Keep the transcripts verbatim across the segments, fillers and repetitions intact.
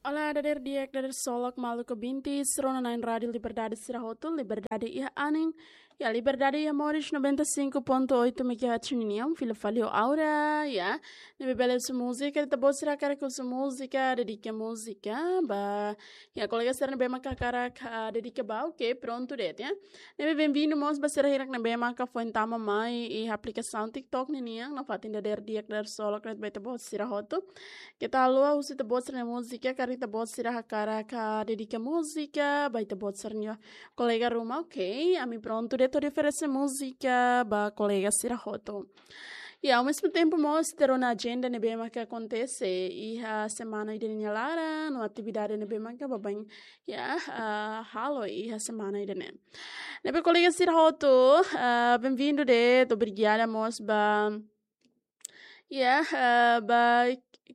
Olá, dader di'ak, dader solok, maluk ouvintes, rona-na'in Rádio Liberdade sira hotu, liberdade iha anin, iha liberdade iha moris noventa e cinco ponto oito megahertz ninian, fila fali ho Aura, ya. Ne'ebé bele husu múzika, ita-boot sira hakarak husu múzika, dedika múzika ba, ya, kolega sira ne'ebé maka hakarak, ah, dedika ba, oke, prontu de'it, ya. Ne'ebé benvindu mós ba sira hirak ne'ebé maka foin tama mai iha aplikasaun TikTok ninian, nafatin dader di'ak, dader solok de'it ba ita-boot sira hotu. Keta haluha husu ita-boot sira-nia múzika, karik ita-boot sira hakarak dedika múzika ba ita-boot sira-nia kolega ruma, oke, ami prontu de'it hodi oferese múzika ba kolega sira hotu. Ya, ao mesmo tempo mós ita rona ajenda ne'ebé maka akontese iha semana ida-ne'e nia laran, no atividade ne'ebé maka baibain, ya, ah, halo iha semana ida-ne'e. Ne'ebé kolega sira hotu, ah, benvindu de'it, obrigada mós ba, ya, ah, ba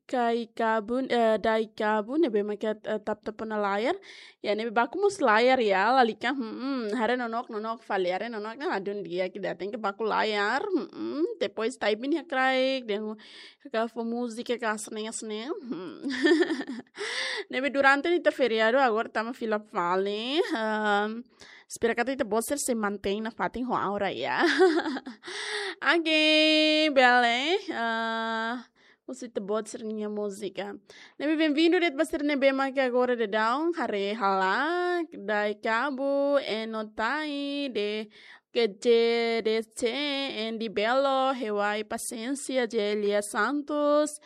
Kai Kabu, eh, Dai Kabu, ne'ebé maka, eh, tap-tap ona layar. Ya, ne'ebé baku mós layar ya, lalika, hmm, haree nonook, nonook fali, haree nonook ne'e ladún di'ak ida, tenke baku layar, hmm, depois typing iha kraik, dehan ka fó múzika ka hanesan ne'e, hanesan ne'e, hmm. Ne'ebé durante ne'e ita feriadu, agora tama fila fali, ehm, espera katak ita-boot sira sei mantein nafatin ho Aura ya. Oke, bele, ah, husu ita-boot sira-nia múzika. Ne'ebé benvindu de'it ba sira ne'ebé maka agora daudaun haree hela, Dai Kabu, Eno Tai, de G J D C, Andy Belo, Hewai Paciência, Jelia Santos.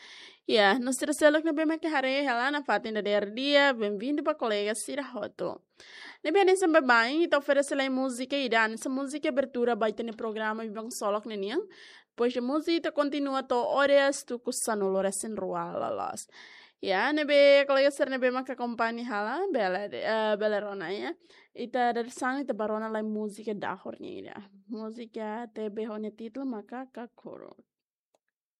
Ya, no sira seluk ne'ebé maka haree hela nafatin dader di'ak, benvindu ba kolega sira hotu. Ne'ebé hanesan baibain ita oferese lai múzika ida, hanesan múzika abertura ba ita-nia programa Biban Solok ninian. Depois de múzika ita kontinua to'o oras tuku sanulu resin rua loloos. Ya, ne'ebé kolega sira ne'ebé maka akompaña hela, bele, eh, bele rona ya. Ita dadeer-saan ita bá rona lai múzika dahor nian ida. Múzika T B ho nia títulu maka Kakuru.